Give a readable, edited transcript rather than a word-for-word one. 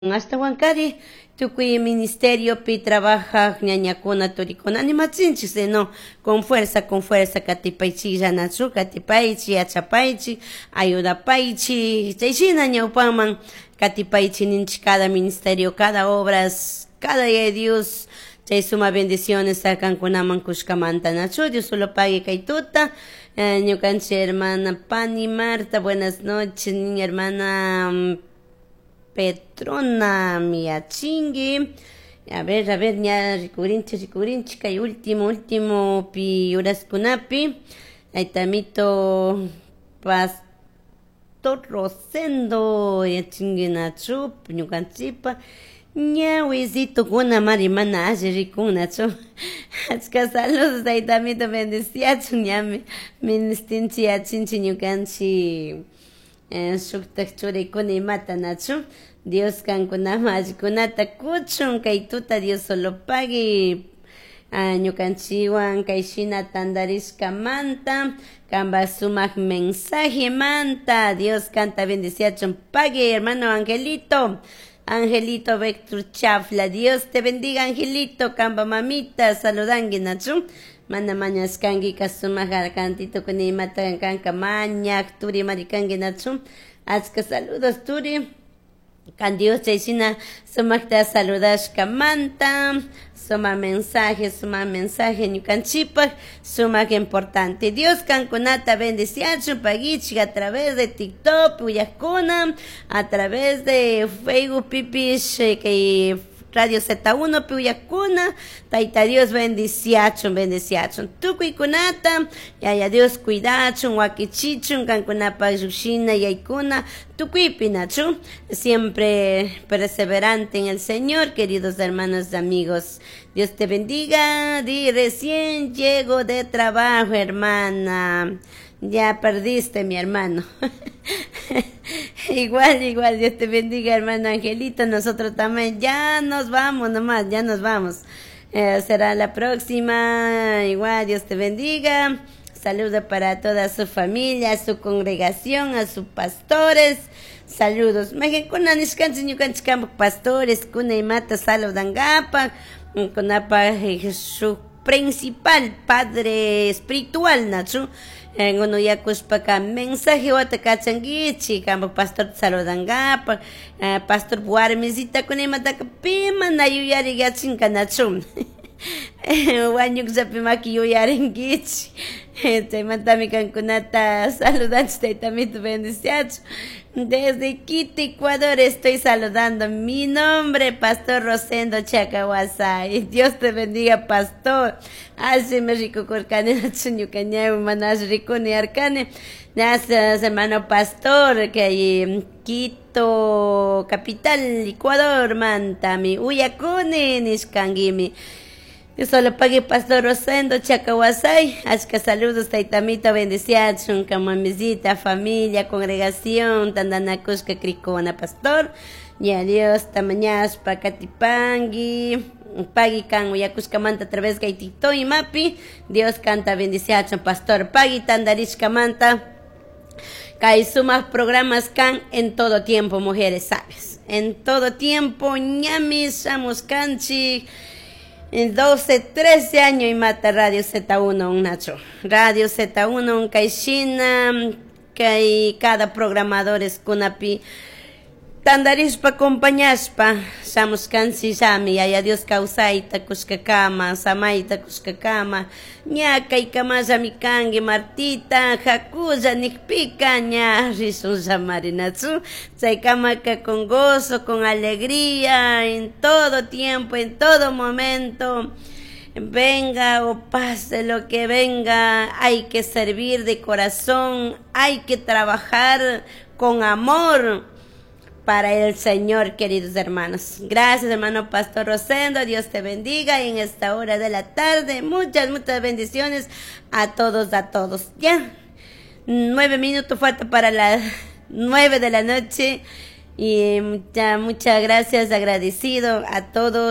Ashtahuankari tukuy ministeriopi trabajaj ñañakuna turikuna animachinchik, no, con fuerza, con fuerza katipaychik nachu, katipaychik, yachapaychik, ayudapaychik, chayshina ñawpaman katipaychik ninchik cada ministerio, cada obras, cada día Dios chay suma bendiciones kankunaman kushkamanta nachu. Dios solo pague kay tuta. Ñukanchik hermana Pani Marta, buenas noches, niña hermana Petrona Miachingi. A ver, ña rikurinchik, rikurinchik kay último, último pi uraskunapi. Aytamito Pastor Rosendo yachingi nachu ñukanchikpa ñawisitokuna mari mana alli rikunachu. Achka saludos, taytamito, bendiciachun. Ñami ministinchik yachinchik ñukanchik shuktak churikuna imata nachu. Dios kankunaman allikunata kuchun kay tuta. Dios solo pague ñukanchikwan kay shina tantarishkamanta, kanpak sumak mensajemanta. Dios kanta bendiciachun. Pague, hermano Angelito, Angelito Vector Chafla. Dios te bendiga, Angelito. Kanpa mamita saludanki nachu. Mana mañashkanki sumak cantito kuna imata kanka mañak turi marikanki nachu. Achka saludos, turi. Kan Dios chayshina sumakta saludashkamanta, suma mensaje, suma mensaje ñukanchikpak sumak importante. Dios kankunata bendiciachun. Paguichik a través de TikTok uyakuna, a través de Facebook pipish, kay Radio Z1 piuyakuna. Tayta Dios bendiciachun, bendiciachun tukuykunata. Yaya Dios cuidachun, wakichichun kankunapak llushina yaykuna tukuypi nachu. Siempre perseverante en el Señor, queridos hermanos y amigos. Dios te bendiga. Di recién llego de trabajo, hermana. Ya perdiste, mi hermano. Igual, igual, Dios te bendiga, hermano Angelito. Nosotros también ya nos vamos nomás, ya nos vamos. Será la próxima. Igual, Dios te bendiga. Saludos para toda su familia, a su congregación, a sus pastores. Saludos. Kuna nishkanchik ñukanchik kanpak pastores, kuna imata saludangapak, kunapa su principal padre espiritual nachu. Uno yakushpaka mensaje wata kachankichik kanpak pastor saludangapak, pastor warmisita kuna imataka pi mana yuyari yachinka nachu. Wañukllapi maki yuyarinkichik. Chaymantami kankunata saludanchik. Taytamito bendiciachun. Desde Quito, Ecuador, estoy saludando. Mi nombre, Pastor Rosendo Chacahuasay. Dios te bendiga, pastor. Así me rico corcane, ñuka manas rikuni arcane. Gracias, hermano pastor, que hay Quito, capital, Ecuador, mantami. Uyakuni, nishkanguimi. Dios solo pague, Pastor Rosendo Chacahuasay. Achka saludos, taytamito, bendiciachun, mamizita, familia, congregación, tandanakushka krikuna, pastor. Ya Dios, tamañashpa, katipangui. Pagui kan uyakushkamanta a través kay TikTok y mapi. Dios kanta bendiciachun, pastor. Pagui tandarishkamanta. Kay sumas programas kan en todo tiempo, mujeres sabias. En todo tiempo, ñami, shamushkanchik. En 12, 13 años y mata Radio Z1 un nacho. Radio Z1 un kayshina, kay cada programador es kunapi tandarishpa acompañashpa shamushkanchik llami. Yaya Dios kawsayta kushkakama, samayta kushkakama, ña kaykamallami kanki, Martita, hakulla nikpika ña rishunllamari nachu. Chaykamaka con gozo, con alegría, en todo tiempo, en todo momento. Venga o pase lo que venga, hay que servir de corazón, hay que trabajar con amor para el Señor, queridos hermanos. Gracias, hermano Pastor Rosendo. Dios te bendiga en esta hora de la tarde. Muchas, muchas bendiciones a todos, a todos. Ya, 9 minutos falta para las 9 de la noche. Y muchas, muchas gracias, agradecido a todos.